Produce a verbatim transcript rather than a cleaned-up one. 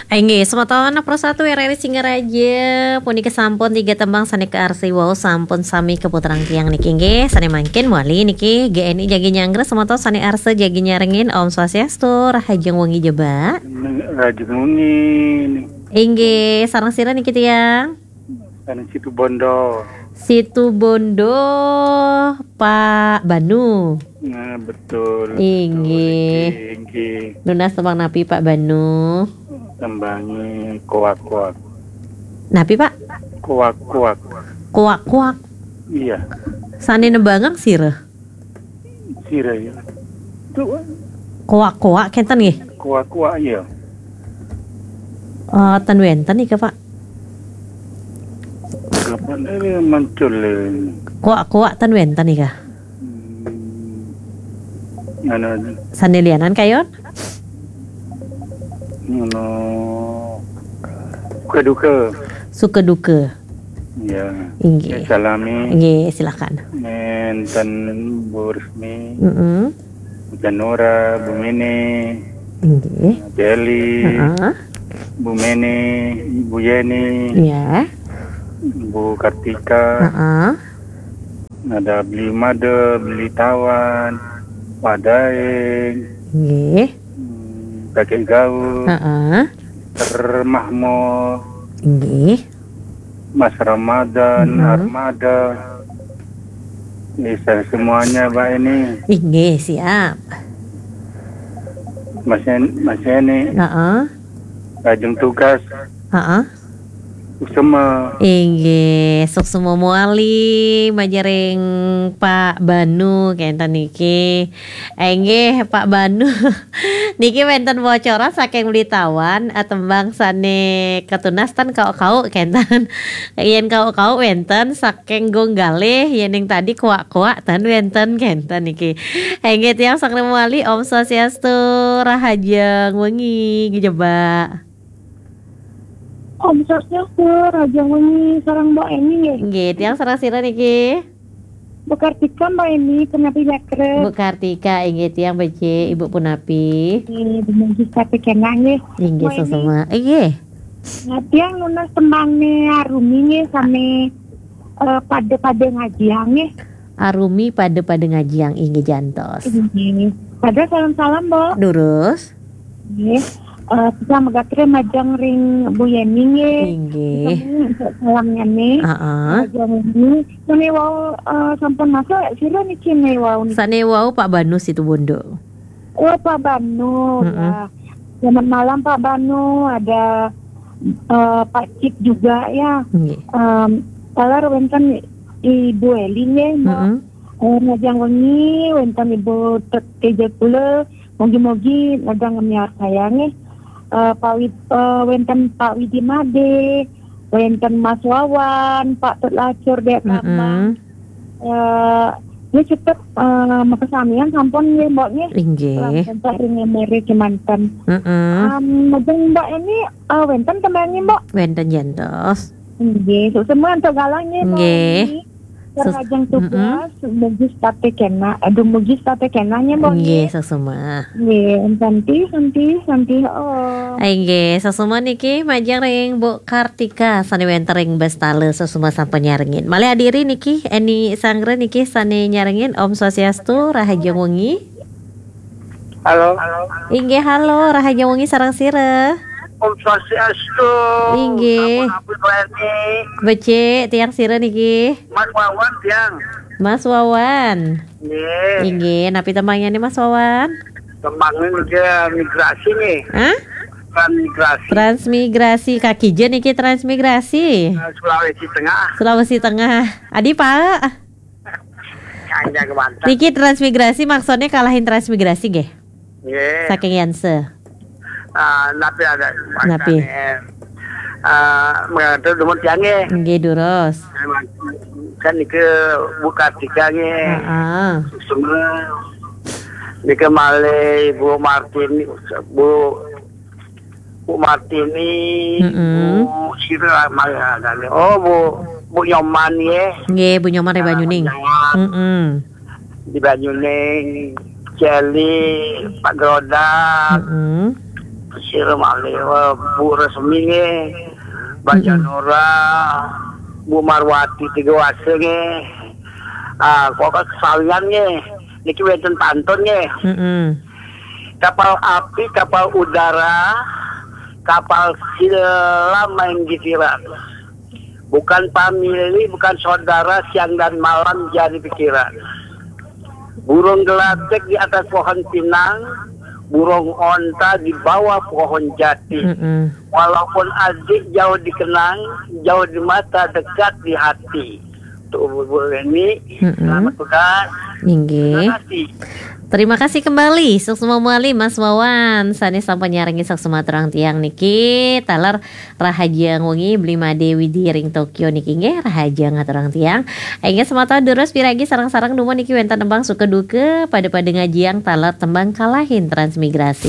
Inggih, semeton Pro satu R R I Singaraja, punika sampun tiga tembang sané kaarsi wau sampun sami kaputerang tiang niki, inggih. Sané mangkin mawali niki G N I jagi nyanggra, semeton sané arsa jagi nyarengin. Om Swastiastu, rahajeng wengi jebak. Rahajeng wengi. Inggih, sareng sira niki tiang? Sané Situbondo. Situbondo, Pak Banu. Nah, betul. Inggih. Betul, inggih, inggih. Nunas tembang napi, Pak Banu? Tembangé Koak-koak. Napi, Pak? Koak-koak. Koak-koak. Iya. Sané nembangang sira? Sira, ya. Itu Koak-koak kénten nggih? Koak-koak, iya. Eh, ten wénten nika, Pak. Kapan ini muncul ini? Koak-koak ten wénten nika. Hmm. Anu, sané lianan kayun? Anu, suka duka. Suka duka. Ya. Inggih. Ya, salami. Inggih, silakan. Nénten Bu Resmi. Mm-mm. Bu Janura, Bu Mene. Inggih. Bu Eli. Heeh. Bu Mene, Bu Yeni. Ya. Bu Kartika. Heeh. Ada Beli Made, Beli Tawan, Pak Daeng. Nggih. Hmm, Kakek Gaul. Heeh. Ter Mahmud. Nggih. Mas Ramadan, mm-mm. Armada. Bisa semuanya, Mbak Eni. Inggih, siap. Mas En-, Mas Eni. Heeh. Lajeng tugas. Heeh. Suksema. Inggih, suksema mawali majeng ring Pak Banu kénten niki. Inggih, Pak Banu. Niki wénten bocoran saking Beli Tawan, eh, tembang sané katunas ten Kauk-kauk kénten. Yén Kauk-kauk wénten saking Gong Galih, yéning tadi Koak-koak ten wénten kénten niki. Inggih, tiang sareng mawali, Om Swastiastu, rahajeng wengi, jebak. Om Swastiastu, rahajeng wengi, sareng Mbok Eni nggih. Nggih, tiang sareng sira niki? Bu Kartika, Mbok Eni, punapi jatra? Bu Kartika, inggih tiang becik, Ibu punapi? Nggih, dumugi sami kénak nggih. Inggih, Mbok Eni. Suksema. Inggih. Nah, tiang nunas tembangé Arumi nggih, sané, eh, pada-pada ngajiang nggih. Arumi pada-pada ngajiang, inggih jantos. Inggih. Pada salam-salam, Mbok. Durus. Nggih. Eh, tiang megatre majeng ring Bu Yeni nggih. Inggih. Sampun salamnyané. Heeh. Majeng niki. Sané wau, eh, sampun masuk, sira niki sané wau niki? Sané wau Pak Banu Situbondo. Oh, Pak Banu, mm-mm, ya. Selamat malam, Pak Banu. Ada, eh, Pak Cip juga, ya. Nggih. Em, taler wénten Ibu Eli nggih, Mbok. Mm-mm. Eh, majeng wengi wénten Ibu Tet-, Teja kula. Mugi-mugi nedang ngemiarsa nggih. Eh, Pak Wid-, eh, wénten Pak Widi Made, wénten Mas Wawan, Pak Tut Lacur, Dék Kamang. Mm-mm. Eh, nggih cepet, eh, makasamian sampun nggih, Mbok nggih. Inggih. Sampun ring Mary kémanten. Mm-mm. Em, majeng Mbok Eni, eh, wénten tembangé, Mbok? Wénten jantos. Nggih, suksema antuk galah nggih, Mbok Eni. Nggih. Sus-, lajeng tugas, mm-mm, mugi setaté kénak. Aduh, mugi setaté kénak nggih, Mbok nggih, nggih. Suksema. Nggih, santi, santi, santi, oh. Inggih, suksema niki majeng ring Bu Kartika sané wénten ring Bestala, suksema sampun nyarengin. Malih adiri niki, Eni Sanggra niki sané nyarengin. Om Swastiastu, rahajeng wengi. Halo. Inggih, halo, rahajeng wengi sareng sira? Om Swastiastu. Inggih. Sampun abdi Mbok Eni. Becik, tiang sira niki? Mas Wawan, tiang. Mas Wawan. Nggih. Inggih, napi tembangnyané Mas Wawan? Tembangé niki migrasi nggih. Hah? Transmigrasi. Transmigrasi, kaki je niki transmigrasi. Eh, Sulawesi Tengah. Sulawesi Tengah. Adi Pak. Hanya ke Banten. Niki transmigrasi maksudnya kalahin transmigrasi nggih? Nggih. Saking Yanse. Ah, napi ada napi? Makane, ah, mengatur dumun tiang nggih. Nggih, durus. Kan niki Bu Kartika nggih. Heeh. Semua. Niki malih Bu Martin, Bu Bu Martini, mm-mm, Bu sira malih adane. Oh, Bu, Bu Nyoman nggih. Nggih, Bu Nyoman ring Banyuning. Nyoman. Mm-mm. Di Banyuning, Celi, Pak Grodak. Mm-mm. Sira malih, eh, Bu Resmi nggih, Mbak Janora, Bu Marwati Tiga Wase nggih. Ah, kok kesalian nggih. Niki wenten pantun nggih. Kapal api, kapal udara, kapal selam main gitiran. Bukan famili, bukan saudara, siang dan malam jadi pikiran. Burung gelatik di atas pohon pinang, burung onta di bawah pohon jati. Walaupun adik jauh dikenang, jauh di mata, dekat di hati. Tuh, Bu, Bu Reni, selamat tugas. Inggih. Terima kasih. Terima kasih kembali, suksma malih Mas Wawan. Sané sampun nyarengin suksma aturang tiang niki, taler rahajeng wengi Bli Made Widi ring Tokyo niki nggih, rahajeng aturang tiang. Inggih semata durus piragi sareng-sareng dumun niki wénten tembang suka duka, pada-pada ngajiang taler tembang kalahin transmigrasi.